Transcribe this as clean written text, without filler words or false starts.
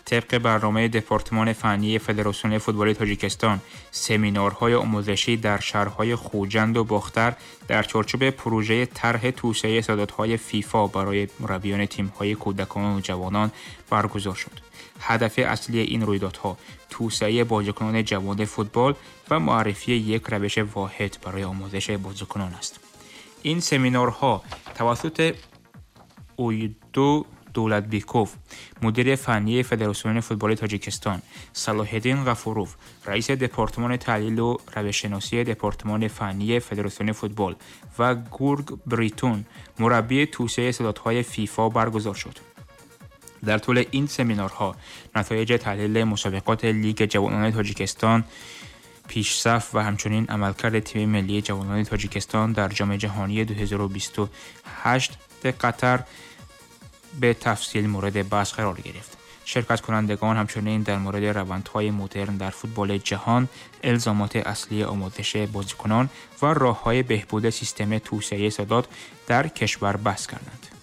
Тибқи барномаи департамони фаннии Федератсиони футболи Тоҷикистон, семинарҳои омӯзишӣ дар шаҳрҳои Хуҷанду Бохтар дар чорчӯби пурӯжаи тарҳи توسعه استعدادهای فیفا барои мураббиёни тимҳои кӯдакону ҷавонон баргузор шуд. Ҳадафи аслии ин рӯйдодҳо توسعه бозикунони ҷавони футбол ва муаррифии як равиши воҳид барои омӯзиши бозикунон аст. Ин семинарҳо тавассути Уйду Дулатбеков, мудири фаннии Федератсиони футболи Тоҷикистон, Салоҳиддин Ғафуров, раиси департамони таҳлилу равишшиносии департамони фаннии Федератсиони футбол ва Гург Бритун, мураббии توسعه استعدادهای فیفا баргузор шуд. Дар тӯли ин семинарҳо натоиҷи таҳлили мусобиқоти Лиги ҷавонони Тоҷикистон, пешсаф ва ҳамчунин амалкарди тими миллии ҷавонони Тоҷикистон дар Ҷоми ҷаҳонии 2028 Қатар به تفصیل مورد بحث قرار گرفت. شرکت کنندگان همچنین در مورد روندهای مدرن در فوتبال جهان، الزامات اصلی آموزش بازیکنان و راههای بهبود سیستم توسعه استعداد در کشور بحث کردند.